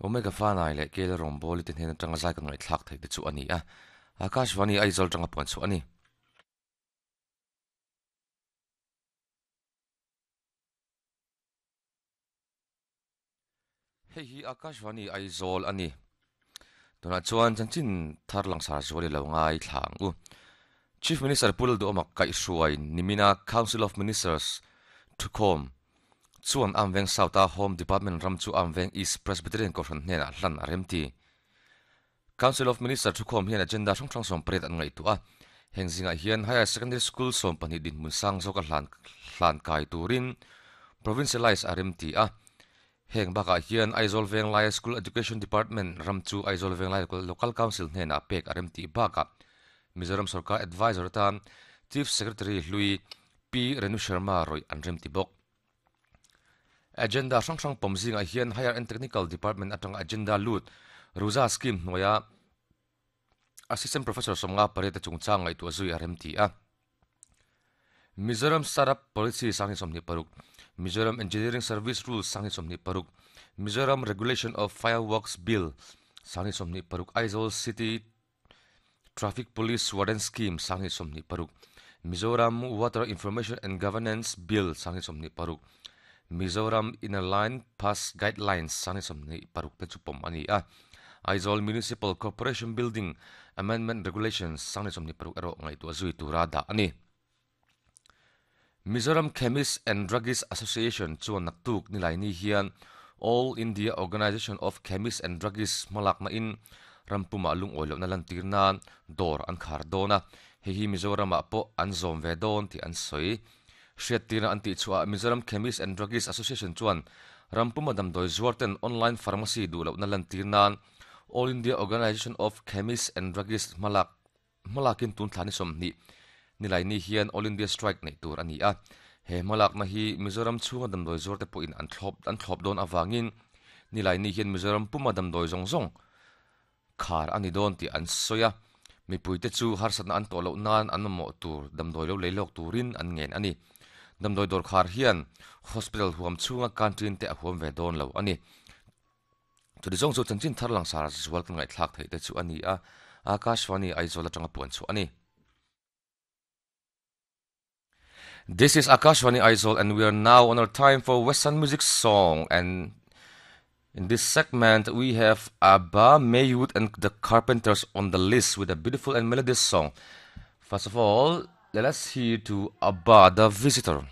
Omega Fanai leh Kela Rawngbawli te hnen atanga zai kan ngaihthlak theih te chu a ni a, Akashvani Aizawl atanga puan chhuah a ni. Hei hi Akashvani Aizawl a ni. Tunah chuan chanchin thar langsar zual i lo ngai thla ang u. Chief Minister Pu Lalduhawma kaihhruai nimina Council of Ministers thukhawm chuan Amveng South-a Home Department ram chu Amveng East Presbyterian Kohhran hnenah hlan a remti. Council of Minister thukhawm hian agenda hrang hrang 18 an ngaihtuah a. Heng zingah hian Higher Secondary School 12 dinhmun sang zawka hlan hlan kai turin Provincialise a remti a. Heng bakah hian Aizawl Venglai School Education Department ram chu Aizawl Venglai Local Council hnenah pek a remtih bakah Mizoram Sorkar Advisor atan Chief Secretary hlui Pi Renu Sharma rawih an remti bawk. Agenda hrang hrang pawm zingah hian Higher and Technical Department atanga agenda lut Ruza Scheme hnuaia Assistant Professor 58 te chungchang ngaihtuah zui a remti a. Mizoram Startup Policy 2026, Mizoram Engineering Service Rules 2026, Mizoram Regulation of Fireworks Bill 2026, Aizawl City Traffic Police Warden Scheme 2026, Mizoram Water Information and Governance Bill 2026, Mizoram Inner Line Pass Guidelines 2026 te chu pawm a ni a. Aizawl Municipal Corporation Building Amendment Regulations 2026 erawh ngaihtuah zui tura dah a ni. Mizoram Chemist and Druggist Association chuan naktuk nilaini hian All India Organisation of Chemists and Druggists hmalakna in rampumah lungawi lohna lantir nan dawr an khar dawn a, hei hi Mizoramah pawh an zawm ve dawn tih an sawi. Hriattirna an tih chhuahah Mizoram Chemist and Druggist Association chuan rampuma damdawi zuarten online pharmacy duh lohna lantir nan All India Organisation of Chemists and Druggists hmalak Hmalakin tun thla ni 20 Nilaini hian All India Strike neih tur a ni a. He hmalakna hi Mizoram chhunga damdawi zuar te pawhin an thlawp an thlawp dawn avangin Nilaini hian Mizoram puma damdawi zawng zawng khar a ni dawn tih an sawi a. Mipuite chu harsatna an tawh loh nan an mamawh tur damdawi lo lei lawk turin an ngen a ni. Damdawi dawr khar hian hospital huam chhunga canteen te a huam ve dawn lo a ni. Chuti zawng chu chanchin thar langsar zual kan ngaihthlak theih te chu a ni a, Akashvani Aizawl atanga puan chhuah a ni. This is Akashvani Aizawl and we are now on our time for Western music song and in this segment we have Abba Maywood and the Carpenters on the list with a beautiful and melodious song. First of all, let us hear to Abba the Visitor.